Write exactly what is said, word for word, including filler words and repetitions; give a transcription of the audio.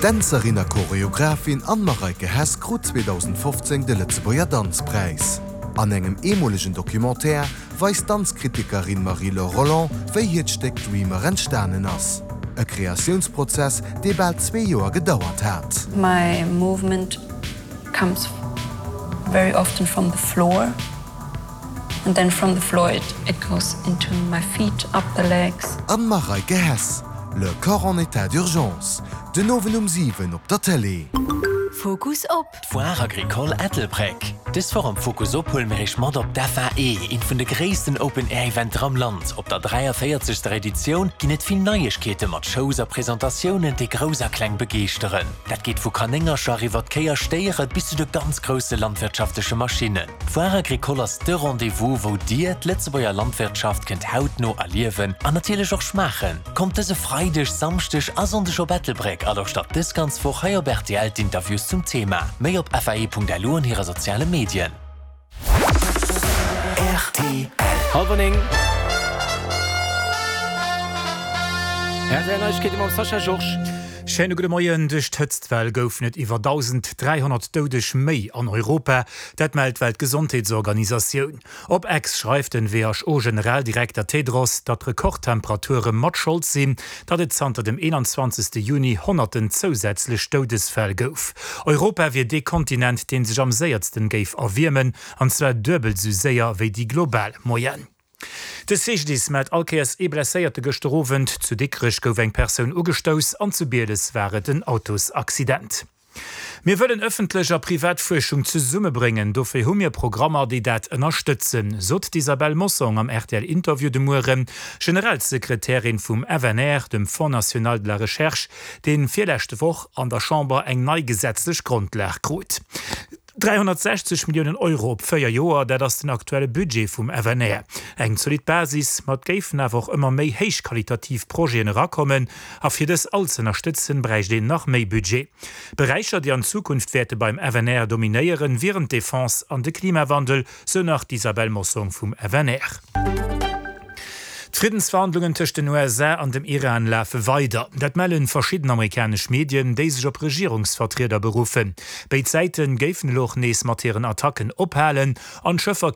D'Dänzerin a Choreographin Anne-Mareike Hess krut zweedausendfofzéng de Lëtzebuerger Danzpräis. An engem eemolegen Documentaire weist d'Danzkritikerin Marie-Laure Rolland, wéi hiert Stéck Dreamer entstanen ass. E Kreatiounsprozess, dee bal zwee Joer gedauert hat. My movement comes very often from the floor and then from the floor it, it goes into my feet, up the legs. Anne-Mareike Hess, Le corps en état d'urgence, den Owend um siwen op der Tëlee. Fokus op. D'Foire Agricole Ettelbréck. Dës Woch am Fokus op huele mir iech mat op d'FAE, eent vun de gréissten Open Air Eventer am Land. Op der dräiavéierzegster Editioun ginn et vill Neiegkeete mat Shows a Presentatiounen, déi Grouss a Kleng begeeschteren. Dat geet vu Kanéngercher iwwer Kéi a Stéiere bis zu de ganz grousse landwirtschaftleche Maschinnen. D'Foire Agricole ass de Rendez-vous, wou dir d'Lëtzebuerger Landwirtschaft kënnt hautno erliewen an natierlech och schmaachen. Kommt dëse Freideg, Samschdeg a Sonndeg op Ettelbréck a lauschtert dës ganz Woch hei op rtl d'Interviews zum Thema. Méi op F A E Punkt L U an hire soziale Medien. R T L. Hallwer néng. R T L Neiegkeete mam Sascha Georges. Schéine gudde Moien. Duerch d'Hëtztwell goufen et iwwer dausend dräihonnert Doudeg méi an Europa. Dat mellt d'Weltgesondheetsorganisatioun. Op X schreift den W H O-Generaldirekter Tedros, datt d'Rekordtemperature mat Schold sinn, datt et zanter dem eenanzwanzegste Juni honnerten zousätzlech Doudesfäll gouf. Europa wier dee Kontinent, dee sech am séiersten géif erwiermen, an zwar duebel sou séier wéi déi global Moyenne. De C G D I S mellt all Kéiers ee Blesséierte gëschter Owend. Zu Dikrech gouf eng Persoun ugestouss an zu Bieles war et en Autosaccident. Mir wëllen ëffentlech a privat Fuerschung zesummebréngen, dofir hu mir Programmer, déi dat ënnerstëtzen, sot d'Isabelle Mossong am R T L-Interview de Mueren, Generalsekretärin vum F N R, dem Fonds national de la recherche, dee virlescht Woch an der Chamber eng nei gesetzlech Grondlag krut. dräihonnertsechzeg Milliounen Euro op véier Joer, dat ass den aktuelle Budget vum F N R. Eng zolidd Basis, ma et géifen awer och ëmmer méi héichqualitativ Projeten erakommen a fir dës all ze ënnerstëtzen, bräicht een nach méi Budget. Beräicher, déi an Zukunft wäerte beim F N R dominéieren, wieren d'Defense an de Klimawandel, sou nach d'Isabelle Mossong vum F N R. D'Friddensverhandlungen tëscht den U S A an dem Iran lafe weider. Dat melle verschidden amerikanesch Medien, déi sech op Regierungsvertrieder beruffen. Béid Säite géifen elo och nees mat hiren Attacken ophalen an d'Schëffer